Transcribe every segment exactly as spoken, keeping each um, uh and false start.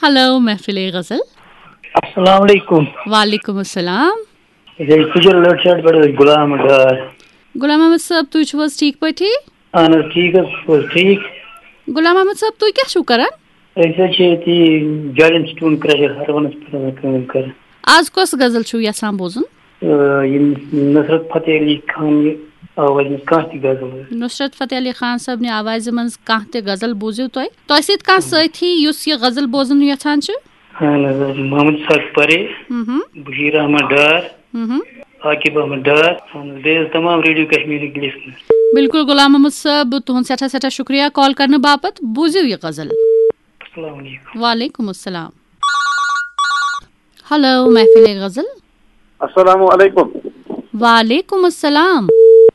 Hello, محفل غزل۔ السلام علیکم۔ وعلیکم السلام۔ یہِ چھُ تُجَر لٔٹ شاٹ پٮ۪ٹھ حظ غلام ڈار۔ غلام محمد صٲب، تُہۍ چھِو حظ ٹھیٖک پٲٹھی؟ اہن حظ، ٹھیٖک حظ، تُہۍ چھِو حظ ٹھیٖک؟ غلام محمد صٲب، تُہۍ کیٛاہ چھِو کران؟ أسۍ حظ چھِ ییٚتی جالٮ۪ن سٹون کرٛشَر ہرونَس پٮ۪ٹھ حظ کٲم کران۔ آز کۄس غزل چھِو یژھان بوزُن؟ آ، یِم نصرت فتح علی خان یہِ آوازِ منٛز کانٛہہ تہِ غزل حظ۔ نصرت فتح علی خان صٲبنہِ آوازِ منٛز کانٛہہ تہِ غزل بوٗزِو تُہۍ۔ تۄہہِ سۭتۍ کانٛہہ سٲتھی یُس یہِ غزل بوزُن یژھان چھُ؟ اہن حظ، محمد اسحاق پرے، مہم۔ بشیر احمد ڈار، مہم۔ عاقب احمد ڈار، اہن حظ، بیٚیہِ حظ تمام ریڈیو کشمیرٕکۍ لسنر۔ بِلکُل غلام محمد صٲب، تُہُنٛد سٮ۪ٹھاہ سٮ۪ٹھاہ شُکریہ کال کرنہٕ باپتھ۔ بوٗزِو یہِ غزل۔ السلام علیکم۔ وعلیکم السلام۔ ہیلو، محفل غزل۔ السلام علیکم۔ وعلیکم السلام۔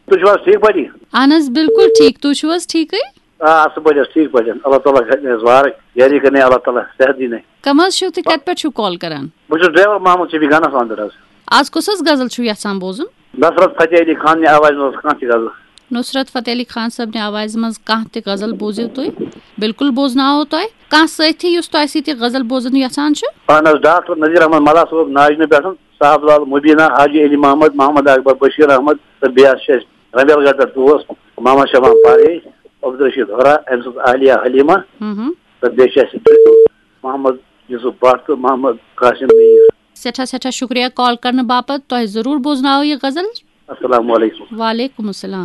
تُہۍ چھِو حظ ٹھیٖک پٲٹھی؟ اہن حظ، بِلکُل ٹھیٖک۔ تُہۍ چھِو حظ ٹھیٖکٕے؟ آ، اَصٕل پٲٹھۍ حظ، ٹھیٖک پٲٹھۍ۔ اللہ تعالیٰ کَرِ اَسہِ وارٕ یٲری کَرنہِ، اللہ تعالیٰ صحت دِنہِ۔ کم حظ چھِو تُہۍ؟ کَتہِ پٮ۪ٹھ چھِو کال کران؟ بہٕ چھُس ڈرایور محمد شفیع گنس اندر حظ۔ آز کُس حظ غزل چھِو یژھان بوزُن؟ نصرت فتح علی خان نہِ آوازِ منٛز کانٛہہ تہِ غزل۔ نصرت فتح علی خان صٲبنہِ آوازِ منٛز کانٛہہ تہِ غزل بوٗزِو تُہۍ۔ بِلکُل بوزناوو تۄہہِ۔ کانٛہہ سٲتھی یُس تۄہہِ سۭتۍ یہِ غزل بوزُن یژھان چھُ؟ اہن حظ، ڈاکٹر نذیر احمد ملا صٲب ناجنہٕ پٮ۪ٹھ، صاحب لال مبینہ، حاجی علی محمد، محمد اکبر، بشیر احمد تہٕ بیٚیہِ حظ چھِ اَسہِ رمبیل گڑھ پٮ۪ٹھ دوست محمد شبان پارے، عبدالرشید ہورا، أمۍ سٕنٛز اہلیہ حلیمہ، مہم۔ تہٕ بیٚیہِ چھِ اَسہِ محمد یوسف بٹ تہٕ محمد قاسم میر۔ سٮ۪ٹھاہ سٮ۪ٹھاہ شُکریہ کال کرنہٕ باپتھ۔ تۄہہِ ضروٗر بوزناوو یہِ غزل۔ السلام علیکم۔ وعلیکم السلام۔